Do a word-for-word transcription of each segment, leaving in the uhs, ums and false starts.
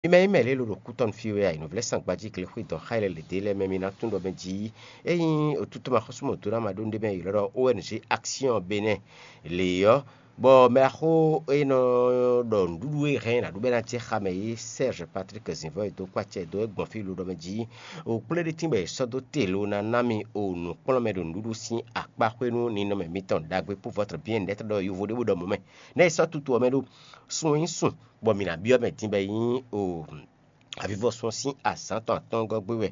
Mi mɛ nyí mɛ lě ló ɖo kútɔ́nu fí wɛ a? Nǔvlɛ́sán gbají glexwé dɔn xá e lɛ́ lě dé lɛ́ɛ mɛ mi ná tunwun ɖɔ mɛ jí ényí otútɔ́ ma xɔ́sú mɔ̌ dó ná ma ɖó nú ɖé mɛ ylɔ́ ɖɔ O N G Action Bénin lě ɔ́, bɔ mɛ axó e nɔ ɖɔ nǔɖuɖu e hɛn ná ɖu bɔ é ná jɛ xa mɛ é Serge Patrick Zinvɔ e dó kpó acɛ dó é gbɔn fí ló ɖɔ mɛ jí o kplé ɖé tín bɔ è sɔ́ dó te ló ná ná mi o nǔkplɔ́nmɛ ɖo nǔɖuɖu sín akpá xwé nú ninɔmɛ mitɔn ɖagbe pour votre bien-être ɖɔ yovo ɖé bó ɖɔ mɔ̌ mɛ. Nɛ́ è sɔ́ tutu ɔ́ mɛ ɖó sun e nyí sun bɔ mǐ ná byɔ́ mɛ din bɔ é nyí o avivɔsun ɔ́ sín azǎn tɔn atɔ́ɔ́ngɔ́ gbé wɛ.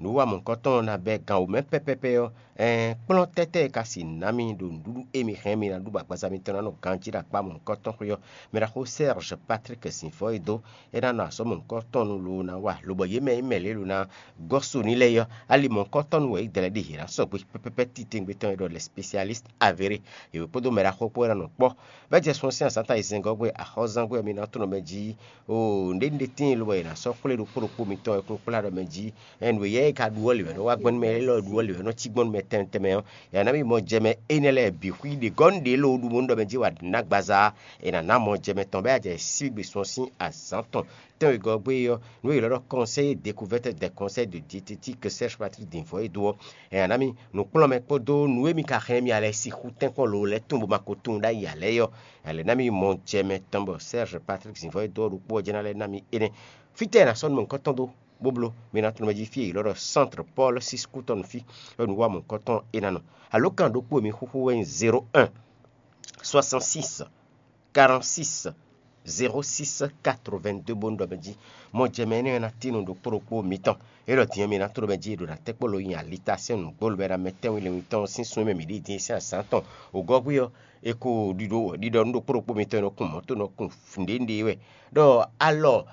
Nǔ wa mɔ̌hunkɔtɔn ɔ́ ná bɛ́ gan wǒ mɛ pɛ́pɛ́pɛ́ ɔ́, ɛɛn kplɔ́n tɛ́tɛ́ e ka si nǎ mi ɖo nǔɖuɖu e mi hɛn mi ná ɖu bɔ agbaza mitɔn ná nɔ ganjí ɖo akpá mɔ̌hunkɔtɔn xwé ɔ́, mɛ ɖaxó Serge Patrick Zinvɔ e dó é ná nɔ azɔ̌ mɔ̌hunkɔtɔn nu loo ná wa, lobɔ yě mɛ e mɛ lě ló ná gɔ́ so n'i lɛ́ɛ ɔ́, ali mɔ̌hunkɔtɔn nu wɛ é dlɛ́ ɖi hě ná sɔgbe pɛ́pɛ́pɛ́ titewungbe tɔn e ɖɔ lɛ́sipesialíst avéré, yě wɛ kpódó mɛ ɖaxó kpó wɛ ná nɔ kpɔ́. Bɛ́ jɛ sun ɔ́ sín azǎn ta yi zɛngɔ́ gbe axɔ́zán gbe mi ná tunɔ mɛ jí. Oo, nǔɖé nǔɖé tíin lobɔ è nǎ sɔ́ kplé ɖokpó ɖokpó mitɔn e kún kplá ɖɔ mɛ jí. Ɛn nǔ e yɛ e ka ɖu ɔ́ lě wɛ nɔ wá gbɔn nú mɛ élɔ́ ɖu ɔ́ lě wɛ nɔ cí gbɔn nú mɛ tɛnmɛ tɛnmɛ ɔ́, è nǎ ná mì mɔ jɛ mɛ énɛ́ lɛ́ɛ bǐ xwí ɖě gɔ́ nú ɖě lo ɖu bónú ɖɔ mɛ jí wǎ nǎ gbaza ɔ́, è nǎ ná mɔ jɛ mɛ tɔn bɔ é wá jɛ síbígbe sun ɔ́ sín azǎn tɔn. Tɛ́nwegɔ́ gbe ɔ́, nǔ e è ylɔ́ ɖɔ Conseil de découverte des conseils de diététique Serge Patrick Dinvɔ́ e dó ɔ́, ɛ nǎ mi nǔkplɔ́nmɛ kpódó nǔ e mi ka hɛn mì a lɛ́ɛ sixú tɛ́nkpɔ́n lo lɛ́ɛ tunwun bó ma ko tunwun ɖ'ayǐ ǎ lɛ́ɛ ɔ́, ɛ lɛ̌ ná mi mɔ jɛ mɛ tɔn bɔ Serge Patrick Zinvɔ́ e dó ɔ́ ɖokpó ɔ́ jɛ́n ná lɛ́ ná mi énɛ́. Fítɛ́ è nǎ sɔ́ nú mɔ̌hunkɔtɔn dó bó bló? Mi ná tunwun mɛ jí fí e è ylɔ́ ɖɔ Centre Paul six Coutɔnɔ́ fí wɛ nǔ wa mɔ̌hunkɔtɔn é ná nɔ. Alǒkan ɖokpó e mi xúxú wɛ nyí zéro un, soixante-six, quarante-six, zéro six, quatre-vingt-deux bónú ɖɔ mɛ jí mɔ jɛ mɛ énɛ́ ɔ́ ná tín nú ɖokpó ɖokpó mitɔn. É ɖɔ din ɔ́, mi ná tló mɛ jí è ɖo ná tɛ́ kpó lo nyi ali ta sín nǔgbó lobɛ ná mɛ tɛ́nwun lɛnwun tɔn sín sun e mɛ mǐ ɖi din sín azǎn tɔn. Wǒgɔ́gbé ɔ́, è ko ɖiɖɔ ɖiɖɔ nú ɖokpó ɖokpó mitɔn e nɔ kun mɔ̌ to nɔ kun nǔɖénúɖé wɛ. Ɖɔ alɔ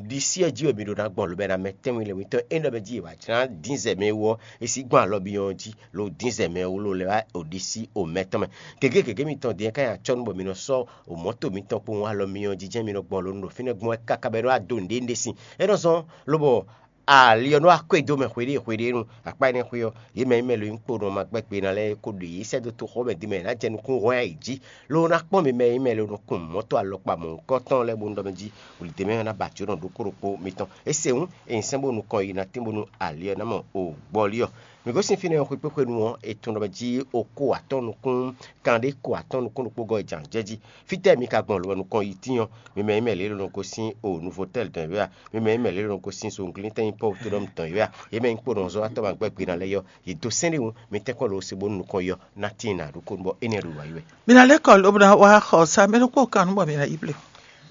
ɖisí ɔ́ jí wɛ mi ɖo ná gbɔn lobɛ ná mɛ tɛ́nwun lɛnwun tɔn é ɖɔ mɛ jí è wǎ jlá dín zɛ mɛ wú ɔ́, è sí gbɔn alɔ byɔ́ jí lo dín zɛ mɛ wú lo lɛ́ wá ɖisí omɛ tɔn mɛ. Gěgé gěgé mitɔn din ɔ́ ka nyi acɔ́ nú bɔ mi nɔ sɔ́ o mɔ̌to mitɔn kpowun alɔ myɔ jijɛ mi nɔ gbɔn lo nú ɖo fínɛ́ gbɔn wɛ káká bɔ é nɔ wá dó nǔɖé nú ɖé sin. É nɔ zɔ́n lobɔ ali ɔ́ nɔ wá kó e dó mɛ hweɖée hweɖée nu akpá énɛ́ xwé ɔ́, yě mɛ e mɛ lo nyí kpo nɔ ma gbɛ́ gbe ná lɛ́ɛ ko ɖo yě sɛ́ dó toxo mɛ din mɛ ná jɛ nukún hwɛ́n ayǐ jí. Lo ná kpɔ́n mi mɛ e mɛ lo nɔ kun mɔ̌to alɔkpa mɔ̌hunkɔtɔn lɛ́ɛ bónú ɖɔ mɛ jí wǔlidɛ̌mɛ ɔ́ ná ba jǒ nɔ ɖokpó ɖokpó mitɔn. É se hǔn, è nyi sɛ́n bó nukɔn yi ná tín bónú ali ɔ́ ná mɔ o gbɔlí ɔ́. Mǐ gosín fínɛ́ ɔ́ xwekpéxwenu ɔ́, è tunwun ɖɔ mɛ jí o ko atɔ́ nukún, kanɖé ko atɔ́ nukún ɖokpó gɔ́ yi jǎn jɛ jí. Fítɛ́ mi ka gbɔn lobɔ nukɔn yi tín ɔ́, mi mɛ e mɛ lě ló nɔ gosín o Nuvotɛ́l dɔn yě wɛ a? Mi mɛ e mɛ lě ló nɔ gosín Zonglintin Pɔ́wutodɔ́m dɔn yě wɛ a? Yě mɛ nyí kpo nɔ zɔ́ atɔ́ ma gbɛ́ gbe ná lɛ́ɛ ɔ́, yě dó sɛ́n ɖé hǔn, mi tɛ́nkpɔ́n lo se bónú nukɔn yi ɔ́ ná tíin nǎ ɖokpónú bɔ énɛ́ ɖo wǎ yi wɛ. Mi ná lɛ́ kɔ lobo ná wá xɔ sa mɛ ɖokpó kan nú bɔ mi ná yi blé.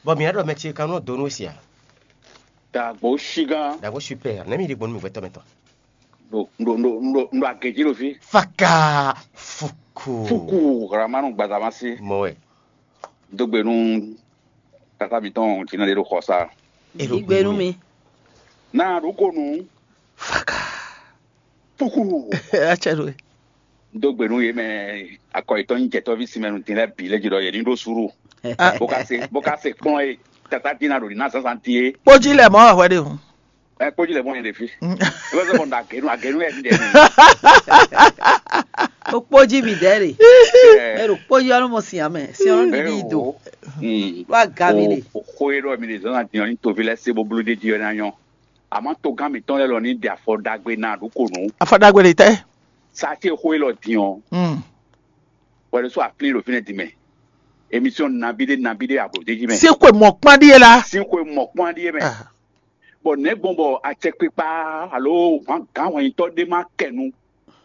Bɔ mǐ ná ɖɔ mɛ ce kan nú ɔ́ dó nú we se a? Dagbo shigán. Dagbo super, nɛ̌ mi ɖi gbɔn nú mi hwɛtɔ́ mɛ tɔn? Ɖo ɖo ɖo ɖo ɖo agě jí ɖo fí. Faka fuku. Fuku ramanu gbadama sí. Mɔ wɛ. Dó gbe nú tata mitɔn Jina ɖe ɖo xɔ sa. Igbe nú mi. Náa ɖo ko nú. Faka. Fuku. Atsɛ ɖo. Dó gbe nú yě mɛ akɔ yětɔn nyí jɛtɔ́ví sinmɛ nú din lɛ́ɛ bǐ lɛ́ jí ɖɔ yě ní ɖó súɖu. Bó ka se bó ka se kplɔ́n e tata Jina ɖo ní ná zǎnzǎn din é. Kpójí lɛ mɔ̌ wɛ hwɛ ɖe hǔn. Ɛ kpójí lɛ mɔ̌ yɛ ɖe fí. Ebe sɔ bɔ nda agenu agenu yɛ mi ɖe mi. Ó kpójí mi ɖɛ̌ ɖe. Ɛ ɖo kpójí ɔ́ ló mɔ sin amɛ sin ɔ́ ló ɖiɖi yi do. Ɖó aga mi ɖe. Xó e ɖɔ mi ɖe zɔn na din ɔ́ ní toví lɛ́ɛ se bó bló ɖéjí ɔ́ ná nyɔ́. Àmọ́ togán mǐtɔn lɛ́ɛ lɔ ní ɖe afɔ ɖagbe ná ɖó ko nǔ. Afɔ ɖagbe ɖe tɛ. Sa ce xó e lɔ din ɔ́. Wɛ ɖo sɔ aplí ɖo fínɛ́ din mɛ. Émission nabí ɖé nabí ɖé ablo ɖéjí mɛ. Sí xwe mɔ̌kpán ɖíe la. Sí xwe mɔ̌kpán ɖíe mɛ. Bɔ nɛ̌ gbɔn bɔ acɛkpikpa alo gǎnhwɛnyitɔ́ ɖé ma kɛ nu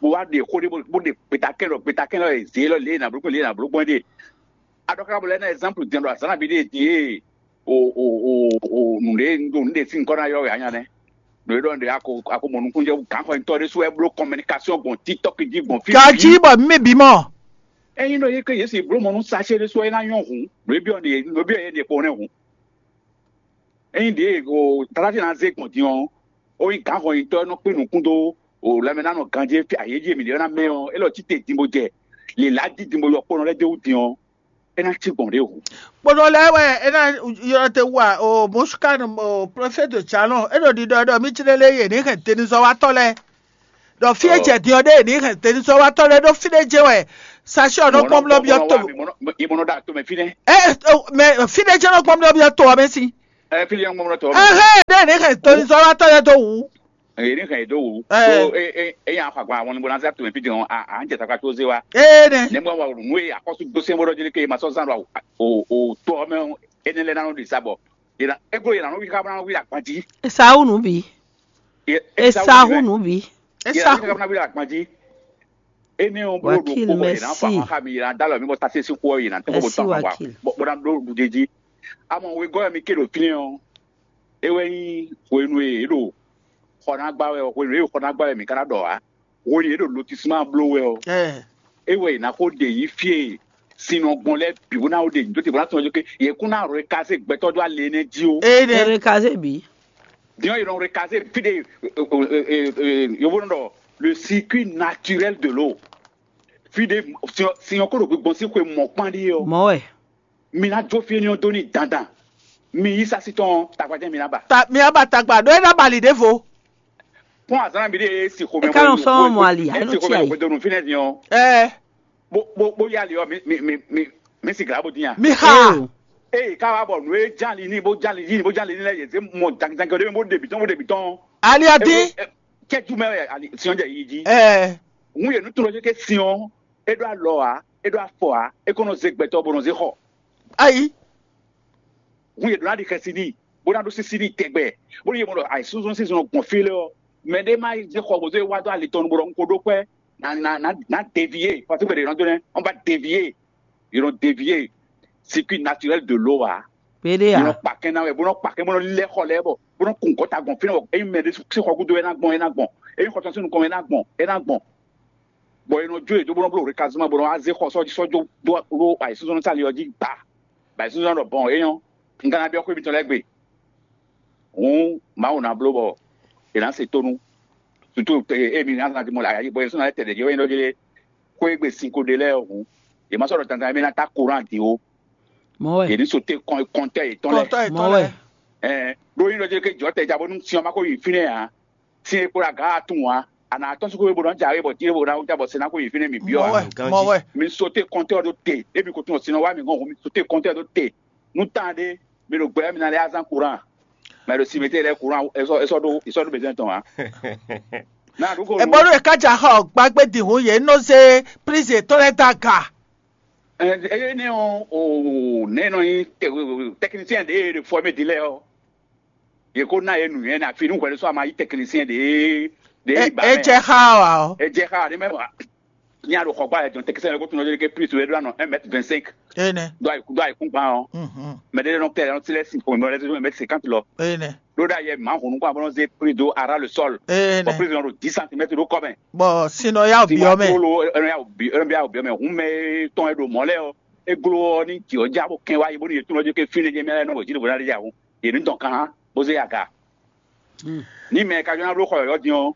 bó wá ɖe xó ɖé bó ɖe gbetakɛn lɔ gbetakɛn lɔ zě lɔ lě e nǎ bló gbɔn lě e nǎ bló gbɔn ɖe. Aɖɔkabɔ lɛ́ɛ ná example din ɖo azǎn nabí ɖé din e o o o o nǔɖé ɖo nǔɖé sín nukɔn ná yɔ wɛ anya nɛ́. Nǔɖé ɖɔ nǔɖé ako ako mɔ nukúnnú jɛ gǎnhwɛnyitɔ́ ɖé sú wɛ bló communication gbɔn TikTok jí gbɔn fí. Gají bɔ mí bǐ mɔ. Ényí ɖɔ yé ké Yesu bló mɔ nú sachet ɖé sú wɛ é ná nyɔ́ hǔn, nǔɖé byɔ́ nǔɖé byɔ́ yé ɖe kpo nɛ́ hǔn. Ényí ɖě o tatáfi ná zé gbɔn din ɔ́, ó nyí gǎnhɔnyitɔ́ e nɔ kpé nukún dó o lanmɛ ná nɔ ganjé fí ayéjí e mǐ ɖe ɔ́ ná mɛ ɔ́, é lɔ cí te din bó jɛ lělá jí din bó yɔ kpɔ́nɔ lɛ́ɛ d'é wú din ɔ́, é ná cí gbɔn ɖěvo. Kpɔ́nɔ lɛ́ɛ wɛ é ná ylɔ́ te wú a? O Mɔsukan o prɔfɛ́ti Jalɔn é ɖo ɖiɖɔ ɖɔ mí cí lélé yě ní hɛn denizɔ́watɔ́ lɛ́ɛ. Ɖɔ fí e jɛ din ɔ́ ɖé yě ní hɛn denizɔ́watɔ́ lɛ́ɛ ɖó fí ɖé jɛ́n wɛ sachet ɔ́ nɔ gbɔn blɔ́ byɔ́ to. Ìmọ̀nà dà tó mɛ fínɛ́. Ɛ mɛ fí ɖé jɛ́n nɔ gbɔn blɔ́ byɔ́ to ɔ́ mɛ sín. Ɛ, fí ɖé ŋmɔmlɔ tɔ. Ɛhɛn, ɖe ne hɛn tonizɔ́watɔ́ lɛ́ɛ dó wú. Èyí ní hɛn yě dó wǔ. Ɛ. Tó é é é nya xɔ agban ahwan ní bó ná zé atome fí din ɔ́, à à ń jɛ takpa tó zé wa. Ene. Nɛ̌ mɔ wa nǔ e akɔ́sú dó sɛn bó ɖɔ jí ke ma sɔ́ zán ɖo o o to ɔ́ mɛ ɔ́, énɛ́ lɛ́ɛ ná nɔ ɖi sa bɔ. Yě ná é gló yě ná nɔ wí xá bó ná nɔ wí ɖo agban jí. Esawu nǔ bǐ. Yě- Esawu Esawu nǔ bɛ. Nǔ bǐ. Yě ná wí xá bó ná wí ɖo agban jí. Énɛ́ ɔ́ bló ɖo Wakil, kpó bɔ yě ná fa mɛsi. Hɔn xá mi yé ná dá lɔ mi bɔ sase sín xó ɔ́ yě ná tɔ́n bó Mɛsi tɔn wa Wakil. Bó ná ɖó ɖuɖéjí. Amɔ wegɔ́ ɛ mi ké ɖo fínɛ́ ɔ́, é wɛ nyí hwenu e yě ɖo xɔ ná gbá wɛ ɔ́, hwenu e yě ɖo xɔ ná gbá wɛ mǐ ka ná ɖɔ ǎ. Hwenu e yě ɖo lotisma bló wɛ ɔ́, Ɛ. É wɛ yě ná xó ɖe yí fí e sin nɔ gbɔn lɛ́ɛ bǐ bó ná xó ɖe yǐ dó te bó ná tunwun ké yě kún ná rɔ kazé gbɛtɔ́ dó alě énɛ́ jí ó. Ene. Erekaze bǐ. Din ɔ́, yě nɔ rɔ kazé fí ɖe yovó nɔ ɖɔ le circuit naturel de l'eau. Fí ɖé sin ɔ́ kó ɖo gbígbɔn sín xwe mɔ̌kpán ɖíe ɔ́, Mɔ̌ wɛ. Mi ná jó fí énɛ́ ɔ́ dó n'i dandan. Mi yí sásí tɔn ɔ́, tagbajɛ mi ná ba. Ta mi á ba tagba ɖó é ná bali ɖěvo. Kpɔ́n azǎn mi ɖé e si xomɛ E ka nɔ sɔ́ mɔ ali, e si xomɛ hwedonu fínɛ́ din ɔ́. Ɛ. Bó bó bó yá ali ɔ́, mi mi mi mi mi si glǎ bó dín a. Mi xa. Eo. Eye ká wá bɔ nǔ e ján ali ní bó ján ali yí ní bó ján ali ní lɛ́ɛ yě zé mɔ jangijangi ɔ́ ɖé bó ɖe bǐ tɔn bó ɖe bǐ tɔn. Ali ɔ́ dín. Cɛ́jú mɛ wɛ ali siɔn jɛ yi jí. Ɛ. Hun yě nú tunɔ ké siɔn é ɖó alɔ ǎ, é ɖó afɔ ǎ, é kó nɔ zé gbɛtɔ́ bó nɔ zé xɔ. Ayi. Hun yě ɖó ná ɖi xɛsi n'i, bó ná ɖó sísí n'i tɛgbɛ, bó ní yě mɔ ɖɔ ayǐsúnzɔ́n sín zɔn gbɔn fí lé ɔ́, mɛ ɖé má zé xɔ gǒzé wá dó ali tɔn nu bó ɖɔ un ko ɖó kpɛ́ ná ná ná ná devié, fɔ́n sín gbe ɖě nɔ dó nɛ́, ɔ́n ba devié, yě nɔ devié circuit naturel de l'eau ǎ. Péɖé Yě nɔ à. Kpa kɛn ná wɛ, bó nɔ kpa kɛn bó nɔ lɛ́ xɔ lɛ́ɛ bɔ bó nɔ kun gɔ́ta gbɔn fínɛ́ bɔ ényí mɛ ɖé sín xɔ gúdo é ná gbɔn é ná gbɔn, ényí xɔ tɔn sín nukɔn é ná gbɔn é ná gbɔn. Bɔ è nɔ jó yě dó bó nɔ bló rekazuma bó nɔ wá zé xɔ sɔ́ sɔ́ jó dó ɖó ayǐsúnzɔ́núsali ɔ́ jí gba, bɔ ayǐsúnzɔ́nú ɖɔ bɔn é nyɔ́, un ka ná byɔ́ xwé mitɔn lɛ́ɛ gbe. Hǔn Mawu ná bló bɔ è nǎ se tónú. Sutu emi ná ná dimɔ ayǎ bɔ yě sɔ́ ná lɛ́ tɛ ɖě jí wɛ nyí ɖɔ jí xwé gbe sin ko ɖe lɛ́ɛ hǔn, yě má sɔ́ ɖɔ dandan émí ná tá koran din ó. Mɔ̌ wɛ. Yě ní so té kɔn kɔntɛ yětɔn lɛ́ɛ. Kɔntɔ Mɔ̌ ètò wɛ. lɛ. Ɛɛ ɖó nyí ɖɔ jí ké jɔ̌ tɛ ja bónú sin ɔ́ má kó yi fínɛ́ ǎ. Sin e kpo ɖo aga ɔ́ tunwun ǎ. A nǎ tɔ́n sín xwé bó ná jǎwe bɔ dín bó ná wúta bɔ se ná xwé yi fínɛ́ mǐ byɔ́ ǎ. Mɔwɛ. Mɔwɛ. Mi sóté kɔntɛ́ ɔ́ ɖó te, émi ko tunwun sin ɔ́ wá mǐ gɔn hǔn, mi sóté kɔntɛ́ ɔ́ ɖó te. Nú tán ɖé, mi ɖo gbɛ mi ná lɛ́ azán kuran. Mɛ ɖo simɛtɛ́ lɛ́ɛ kuran, é sɔ́ é sɔ́ ɖó é sɔ́ ɖó bezɛ́n tɔn ǎ. Ná ɖu ko. Ebɔnu e ka ja xɔ gbagbe dihun ye nɔ ze prize tɔn lɛ da ga. Eye ne ɔn o ne nɔ nyi tɛkinisiyɛn ɖe e ɖe fɔ mɛ di lɛ ɔ. Yě ko ná yě nǔnywɛ́ ná fi nú hwɛɖésú ama yí tɛkinisiyɛn ɖě ɖě yi ba mɛ. Ejɛ xa wa ɔ. Ejɛ xa ɖé mɛ wa. Ní a ɖo xɔ gbá yɛ jɔn tɛkinisiyɛn ɖé ko tún lɔ ke plis wɛ ɖó anɔ un mètre vingt cinq. Ene. Do ayi do ayi kún gbán ɔ. Mhm. Mɛ ɖé nɔ kɛ nɔ tilɛ sin kɔn mɛ ɖé mètre cinquante lɔ. Ene. Ɖó ɖa yɛ mǎ hùn nukún abɔ nɔ zé plis do ara le sɔl. Ene. Bɔ plis nɔ ɖo dix centimètres ɖó kɔmɛ. Bɔ sinɔ ya Tí bi wàá ɔmɛ. Tó lo ɛnɔ ya bi ɛnɔ ya bi ɔmɛ hùn mɛ tɔn ɛ ɖo mɔ lɛ ɔ. Eglo ɔ ní jì ɔ já bó kɛn wá yi bó ní yě tún lɔ jɛ ké fínɛ́ jɛ mɛ lɛ nɔ wɛ jí ɖo bó ná ɖe yahun. Yě ní dɔn kan bó zé aga. Ní mɛ ka jɔ ná bló xɔ yɔ̌yɔ́ din ɔ́,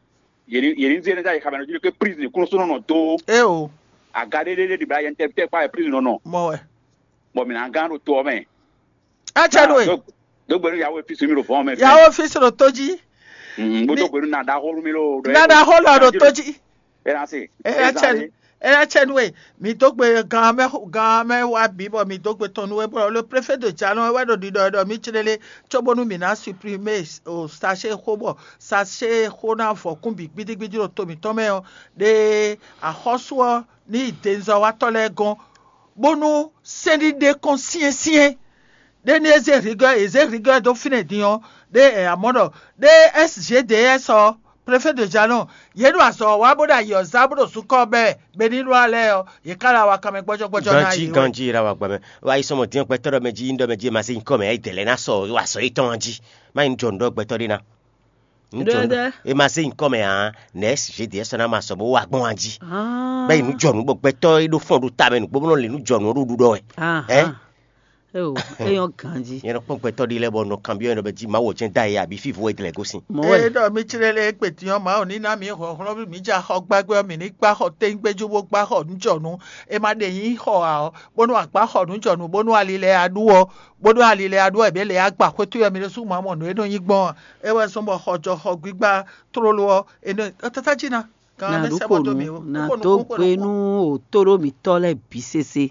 yě ní yě ní zé nɛ́ dá yi xamɛ nɔ jí ɖo ké prizin kúnnu sɔ́ nɔ nɔ dó. É o. Aga ɖé ɖé ɖé ɖibla yɛ tɛ tɛ kpá yɛ prizin nɔ nɔ. Mɔ wɛ. Bɔ mǐ ná gán ɖo to ɔ́ mɛ. Ɛ cɛ nú e. Dó gbɛnu yawo fi sumi ɖo vɔn mɛ. Yawo fi sɔn ɖo tó jí. Bó dó gbɛnu na ɖaxó nú mi ló. Na ɖaxó lɔ ɖo tó jí. Ɛ na se. Ɛ cɛ nú. Ɛ cɛ nú e. Mi dó gbe gan mɛ gan mɛ wa bǐ bɔ mi dó gbe tɔn nú e bɔ le préfet de jalɔn wɛ ɖo ɖiɖɔ ɖɔ mi clé lé. Cóbónú mǐ ná supprimer o sachet xó bɔ sachet xó ná vɔ kún bǐ gbídígbídí ɖo to mǐtɔn mɛ ɔ́, ɖe axɔ́sú ɔ́ ní yi denzɔ́watɔ́ lɛ́ɛ gɔ́n, bónú sɛ́nɖíɖé kɔn syɛ́nsyɛ́n. Ɖé ní é zé rigɔ́ è zé rigɔ́ dó fínɛ́ din ɔ́, ɖé è amɔ̌ ɖɔ ɖé S G D S ɔ́, préfet de jalɔn, yě ɖo azɔ̌ wa bó ɖo ayǐ ɔ́ zá bó ɖo zukɔ́ bɛ́ Benilwa lɛ́ɛ ɔ́, yě ká lɛ́ wá kanmɛ gbɔ́jɔ́gbɔ́jɔ́ ná Ganjí yě. Ganjí ra wa gbɛmɛ. Wa yi sɔmɔ dín gbɛtɔ́ ɖɔ mɛ jí ɖɔ mɛ jí ma se nyí kɔ mɛ ayi dɛlɛ ná sɔ wa sɔ yétɔn jí. Má nyí jɔ nǔ ɖɔ gbɛtɔ́ ɖé ná. Ŋjɔ Ɖɔɖɔ. E ma se nyí kɔ mɛ ǎ, nɛ̌ S G D S ná ma sɔ bó wa gbɔn wa jí. Ah. Bɛ́ yi nǔ jɔ nǔ bɔ gbɛtɔ́ e ɖó fɔ́n ɖo ta mɛ nǔgbó bó nɔ lě nǔ jɔ nǔ ɔ́ ɖo ɖuɖɔ wɛ. Ah, Ɛ? Ah. Eo, é nyɔ́ ganjí. Nyɛ nɔ kpɔ́n gbɛtɔ́ ɖé lɛ́ɛ bɔ nɔ kanbyɔ́ nyɛ ɖɔ bɛ jí Mawu jɛ́n da yɛ abǐ fífo wɛ dlɛ̌ gosín. Mɔ Ee wɛ. Ɖɔ mi clé lé kpeti ɔ́ Mawu ní ná mi hlɔ̌nhlɔ́n mǐ ja xɔ gbágbé ɔ́, mǐ ní gbá xɔ téńgbéjú bó gbá xɔ nǔjɔnǔ. È ma ɖe nyí xɔ ǎ ɔ́, bónú a gbá xɔ nǔjɔnǔ bónú ali lɛ́ɛ a ɖú ɔ́, bónú ali lɛ́ɛ a ɖú ɔ́, è bě lě a gba xwétú ɔ́ mi ɖésú ma mɔ nǔ e nɔ nyí gbɔn ɔ́. É wɛ zɔ́n bɔ xɔ jɔ xɔ gbígbá tlóló ɔ́, è nɔ ɔ tata jí ná. Gan Na mɛ ɖu sɛ ko bɔ dó nǔ, mi o. Na Kókó dó nukún, kókó gbe nukún. Nú òtóló mǐtɔn lɛ́ɛ bǐ sese.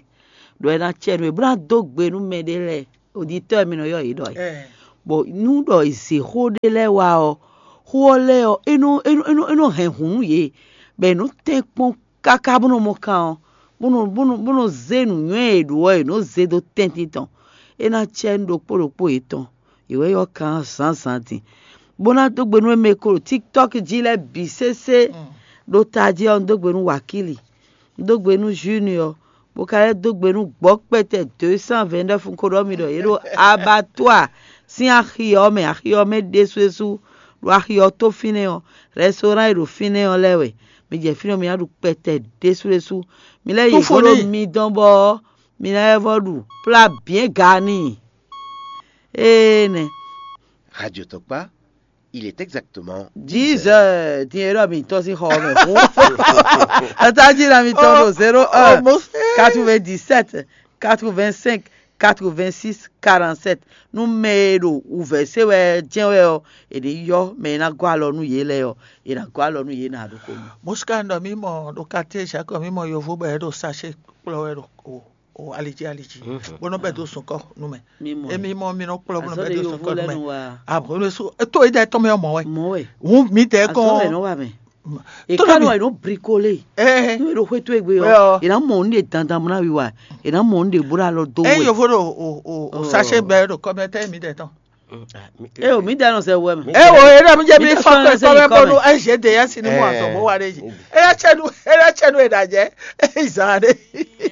Ɖɔ é ná cɛ nú é, bó ná dó gbe nú mɛ ɖé lɛ́ɛ. Òditɔ́ mi nɔ ylɔ́ yě ɖɔ é. Ɛ. Bɔ nú ɖɔ è zě xó ɖé lɛ́ɛ wá ɔ́, xó ɔ́ lɛ́ɛ ɔ́, é nɔ é nɔ é nɔ é nɔ hɛn hǔn nú yě, bɔ è nɔ tɛ́n kpɔ́n káká bó nɔ mɔ kan ɔ́, bó nɔ bó nɔ bó nɔ zé nǔnywɛ́ e è ɖǒ ɔ́, è nɔ zé dó tɛ́ntin tɔn. É ná cɛ nú ɖokpó ɖokpó yětɔn, yě wɛ ylɔ́ kan ɔ́ zǎnzǎn din, bó ná dó gbe nú émɛ e ko ɖo TikTɔ́k jí lɛ́ɛ bǐ sésé. Ɖo tají ɔ́, un dó gbe nú Wakíli, un dó gbe nú Junior, bó ka lɛ́ dó gbe nú gbɔ̌ kpɛtɛ deux cent vingt-neuf, un ko ɖɔ mi ɖɔ yě ɖo abattoir sín axi ɔ́ mɛ, axi ɔ́ mɛ ɖésúɖésú, ɖo axi ɔ́ tó fínɛ́ ɔ́, restaurant e ɖo fínɛ́ ɔ́ lɛ́ɛ wɛ. Mi jɛ fínɛ́ ɔ́, mi ná ɖu kpɛtɛ ɖésúɖésú. Mi lɛ́ yi Túfú hwolo n'i. Mi dɔn bɔ mi ná lɛ́ vɔ ɖu plá bien ga n'i. Ee nɛ. Radio Tɔkpa, il est exactement dix heures. Din e ɖɔ mi tɔ́n sín xɔ mɛ fún. Ata jí na mi tɔn ɖo zéro un quatre-vingt-dix-sept quatre-vingt-cinq quatre-vingt-six quarante-sept. Nú mɛ e ɖo wǔvɛ́ se wɛ jɛ́n wɛ ɔ́, è nǐ yɔ mɛ e ná gɔ́ alɔ nú yě lɛ́ɛ ɔ́, è nǎ gɔ́ alɔ nú yě nǎ ɖokpó. Mosika ɖɔ mí mɔ ɖo quartier Jacques, mí mɔ yovo bɔ é ɖo sachet kplɔ́ wɛ ɖo o o alidzi alidzi, bó nɔ bɛ dó sunkɔ nú mɛ. Mi mɔ emi mɔ mi nɔ kplɔ́ bó nɔ bɛ dó sunkɔ nú mɛ. Abɔlɛ su to yi dɛ tɔn mɛ mɔ wɛ. Mɔ wɛ. Hun mi dɛ kɔn. Azɔ wɛ nɔ wa mɛ. Tó Èkánú nɔ wà yìí ló brikole. Ɛ Nú èɖò xwétó ègbé Ɛ ɔ, ɔ. Ènà mɔ òun ɖe dandan mú náwí wa. Ènà mɔ òun ɖe bó ɖe alɔ dó ɛ wɛ. Yovo ɖo o o o sachet bɛ ɖo kɔmɛ tɛ mi dɛ tɔn. Ɛ o mi dɛ nɔ sɛ wɛ mɛ. Ɛ wo e ɖɔ mi jɛ mi Mi fɔ sɔn kɔ ɛsɛ kɔmɛ yìí kɔmɛ. Bɔnu ɛ zɛ de yɛ sinu mu atɔ bó wa ɖe dzi. Ɛ yɛ tsɛ nu ɛ yɛ tsɛ nu e ɖa jɛ ɛ zan ɖe.